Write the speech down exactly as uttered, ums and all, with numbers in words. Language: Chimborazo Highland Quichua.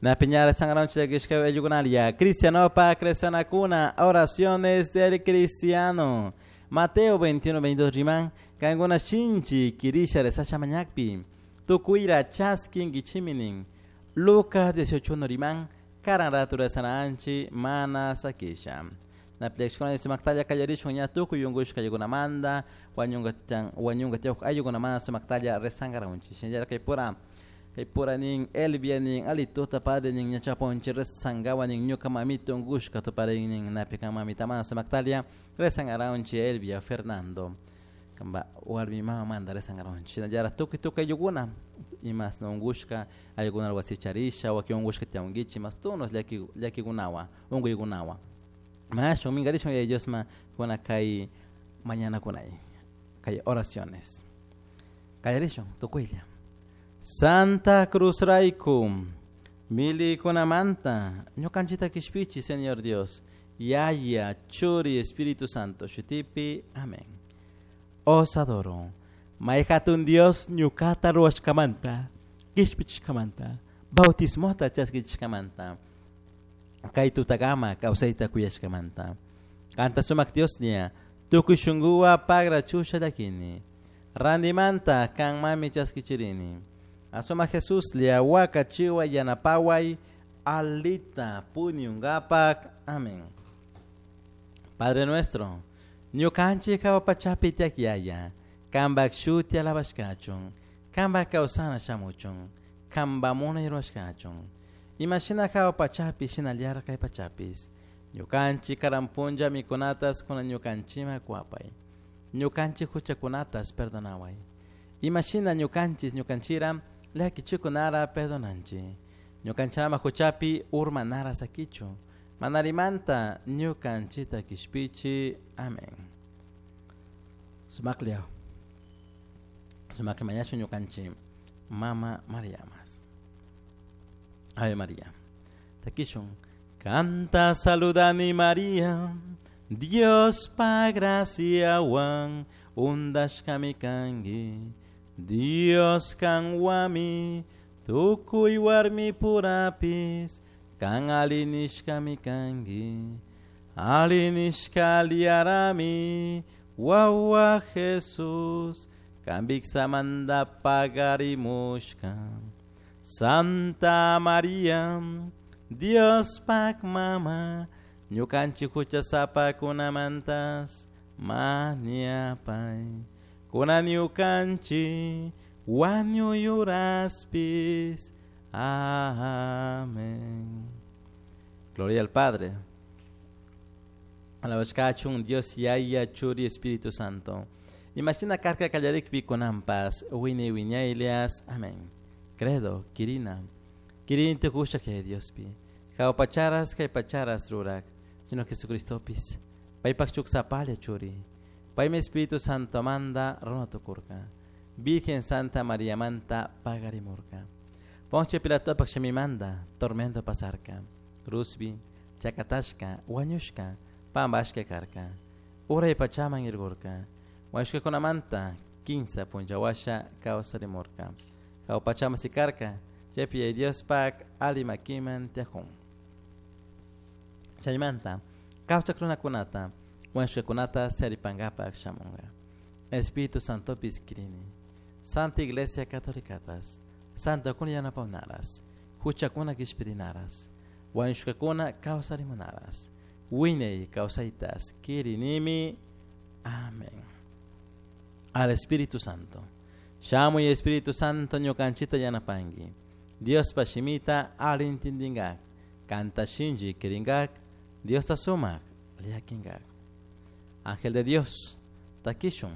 Na piñara sangraunchi llakishka ayllukunalia. Cristianopa cresanakuna, oraciones del cristiano. Mateo veintiuno veintidós riman, kankuna shinchi kirisha rezasha mañakpi, tukuyra chaskinkichiminin. Lucas dieciocho uno riman, karan ratu rezananchi mana sakisha. Na llakishkuna sumaktalla kallarishun ña tukuy unkushka ayllukunamanta, wañunka chan, wañunka tiyawk ayllukunamanta sumaktalla rezangaraunchi. Shinallara kay pura, kay pura nin Elvia nin alituta padre nin ña chaponchi rezangawa nin ñuka mamita unkushka tuparin nin napi kan mamita mana sumaktalla rezangaraunchi Elvia Fernando. Kamba warmi mama manda rezangaraunchi. Shinallara tukuy tukuy ayllukuna imas no unkushka ayllukuna wasicharisha wakin unkushka tiyawankichik mas tunos llaki llakikunawan unkuykunawan. Mashun minkarishun Yaya Diosman kuna kay mañana kunay kay oraciones. Kallarishun tukuylla. Santa Cruz rayku milikunamanta ñukanchita kishpichi Señor Dios, Yaya, Churi, Espíritu Santo, shutipi, amén. Os adoro. Mayhatun Dios ñukata ruwashkamanta, kishpichishkamanta, bautismota chaskichishkamanta, kay tutakama kawsayta kuyashkamanta. Kanta sumak Dios nia, tukuy shunkuwa pagra chusha llakini. Randimanta kan mami chaskichirini. Asuma Jesús lia waka chiwa yanapaway alita puñungapak. Amén. Padre nuestro, ñukanchik hawa pachapi tiak yaya, kambak shuti alabashkachun, kambak kawsana shamuchun, kamba munay ruwashkachun. Imashina hawa pachapi shinallara kay pachapis. Ñukanchik karanpunlla mikunatas kuna ñukanchima kuapay. Ñukanchik huchakunatas perdonaway. Imashina ñukanchis ñukanchira llakichikunara perdonanchi. Ñukanchama huchapi urmanara sakichu. Manarimanta ñukanchita kishpichi. Amén. Sumaklia. Sumakli mañachu ñukanchi Mama Mariamas. Ave María. Takishun. Canta saludani María, Dios pa gracia wan undashkami kangi. Dios kan wami, tukuy warmi purapis, kan alinishkami kangi. Alinishka liarami, wawa Jesus, kan biksamanda pagarimushka. Santa María, Dios pak mama, ñukanchik huchasapakunamantas mañapay. Kuna ñukanchik wañuyuraspis. Amén. Gloria al Padre. Alabashkachun Dios Yaya Churi Espíritu Santo. Imagina karka kallarikpi kunampas wini wiñaylias. Amén. Credo, Kirina. Kirin tukusha que Diospi. Jaupacharas kaypacharas rurak, sino Jesucristopis. Paypak chuksapalia churi. Paymi Espíritu Santo manda runatukurka. Virgen Santa María manta pagarimurka. Poncio Pilatopak shimimanda tormento pasarka. Cruzbi, chakatashka, wañushka, pambashka karka. Uray pachaman irgurka. Wañushka kunamanta, kinsa punchawasha kawsarimurka. Jawpachama sikarka, chaypi Diospak alimakiman tiajun. Chaymanta, kawchak runakunata, wañushkakunata charipankapak shamunka. Espíritu Santopis kirini. Santa Iglesia Católicatas, Santa kuna yanapawnaras, huchakuna kishpirinaras, wañushkakuna kawsarimunaras, wiñay kawsaytas kirinimi. Amén. Al Espíritu Santo. Shamuy Espíritu Santo ñukanchita yanapanki. Diospa shimita alintindingak, kanta shinchi kiringak, Diosta sumak liakinkak. Ángel de Dios, takishun.